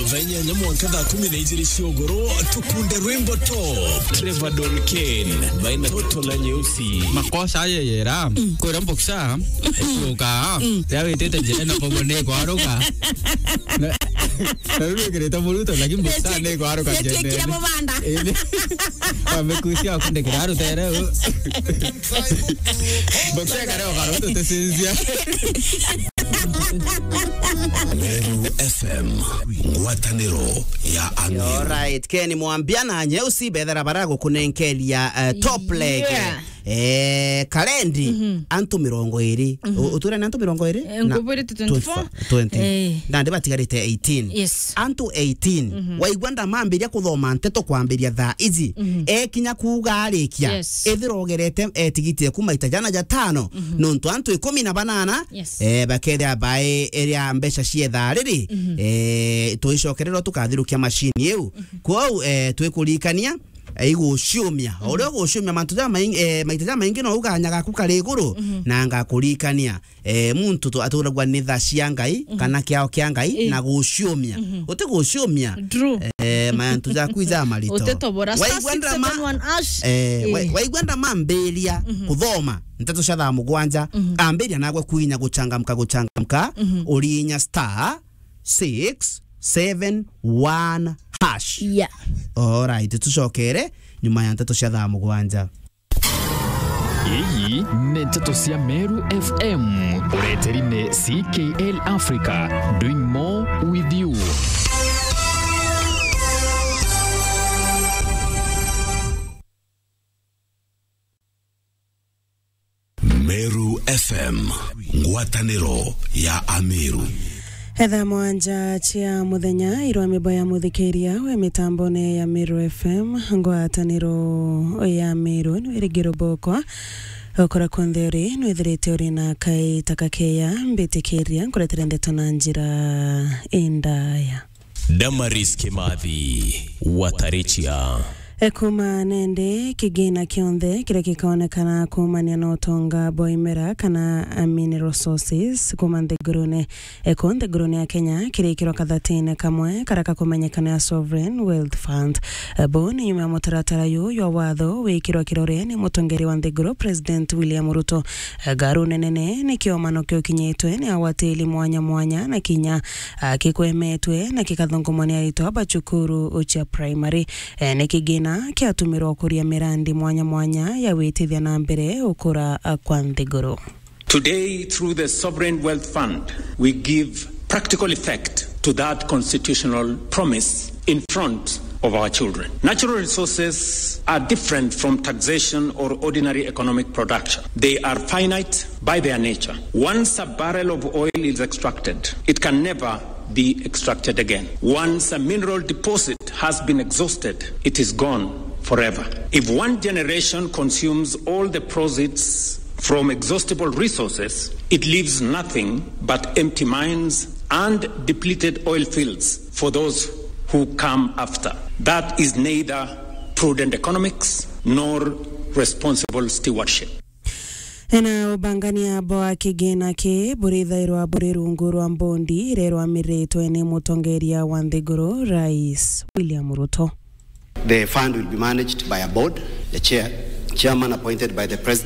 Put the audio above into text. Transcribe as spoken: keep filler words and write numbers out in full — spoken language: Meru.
Thaa inyanya mwanka thaa kumi na ijiri cia uguru, tukunde rwimbo top. Trevor Don Kane, baina toto la nyeusi. Makosa aye yera, kwira mboksa, ekuruka, ya witite njira na bobo ni kwaruka. Na, na riu wikirite muruto, lakini mboksa ni kwaruka njira. Mubanda. Wamekusia kundikira rutere. Mboksa kare okaruto tesinzia. Meru F M, ngwataniro ya Ameru. Alright, Ken Mwambia na Nyeusi bethera bara gukunenkeria, eh, top leg. Yeah. Eh, karendi, antu mirongo iri. U-, utwire ni antu mirongo iri? Eh, na ngubwirite twenty-four. Twenty. Eh. Nandi batigarite eighteen. Yes. Antu eighteen. Waigua ndamambiria kuthoma nteto kwambiria thaa iji. Ekinya kuuga arikia. Yes. Ethira ugerete etigiti eku maita jana jatano. Nontu antu ikumi na banana, yes, eh, bakethira bae iria mbeca cia ithaa riri, eh, tuicokererwa tukathirukia macini iu. Kwou, eh, twikurikania, eh, iguciumia. Uria uguciumia mantu jamaingi, eh, maita jamaingi no uganyaga ku kari iguru, na ngakurikania. Eh, muntu tu-, aturagwa ni tha cia Ngai, kana kiao kia Ngai, na guciumia. Uti guciumia. True. Eh, mantu jaku ijamarito. Utetobora star Waigua ndama, six seven one hash. Eh, wa-, eh, waigua ndamambiria kuthoma nteto cia thaa mugwanja, ambiria nagwe kuinya guchangamka, guchangamka, uriinya star six seven one hash. Yeah. Alright, tucokere nyuma ya nteto cia thaa mugwanja. Iyi ni nteto cia Meru F M, ureteri ni C K L Africa, doing more with you. Meru F M, ngwataniro ya Ameru. Etha mwanja cia muthenya, irwa mibo ya muthikiria we mitambone ya Meru F M, ngwataniro ya Meru, ni wirigiro bokwa. Ukora kunthe uri, nwithirite uri na kaita kakeya, mbitikiria nkuretere ndeto na njira indaya. Damaris Kimathi, Watarichia. E, kuma nende, kigina kionthe kiria gikaonekana kuumania na utonga bwa imera kana, a, mineral resources kuma nthigurune, e, ku nthigurune ya Kenya kirikirwa kathatine kamwe karia kakumenyekana ya Sovereign Wealth Fund. E, bu ni nyuma ya mutaratara yu jwa watho wikirwa kirore ni mutongeri wa nthiguru President William Ruto. E, ngaru nene ni kiomano kiukinyitwe ni agwatiri mwanya mwanya na kinya a, kikwemetwe na kikathungumwa ni aritwa ba cukuru cia primary. E, ni kigina kiatumirwa kuria mirandi mwanya mwanya ya gwitithia na mbere ukura, a, kwa nthiguru. Today, through the Sovereign Wealth Fund, we give practical effect to that constitutional promise in front of our children. Natural resources are different from taxation or ordinary economic production. They are finite by their nature. Once a barrel of oil is extracted, it can never be extracted again. Once a mineral deposit has been exhausted, it is gone forever. If one generation consumes all the proceeds from exhaustible resources, it leaves nothing but empty mines and depleted oil fields for those who come after. That is neither prudent economics nor responsible stewardship. Ena ubangania bwa kigina ki burithairwa buri rungu rwa mbondi iria irwamiritwe ni mutongeria wa nthiguru, Rais William Ruto. The fund will be managed by a board, the chair, chairman appointed by the president.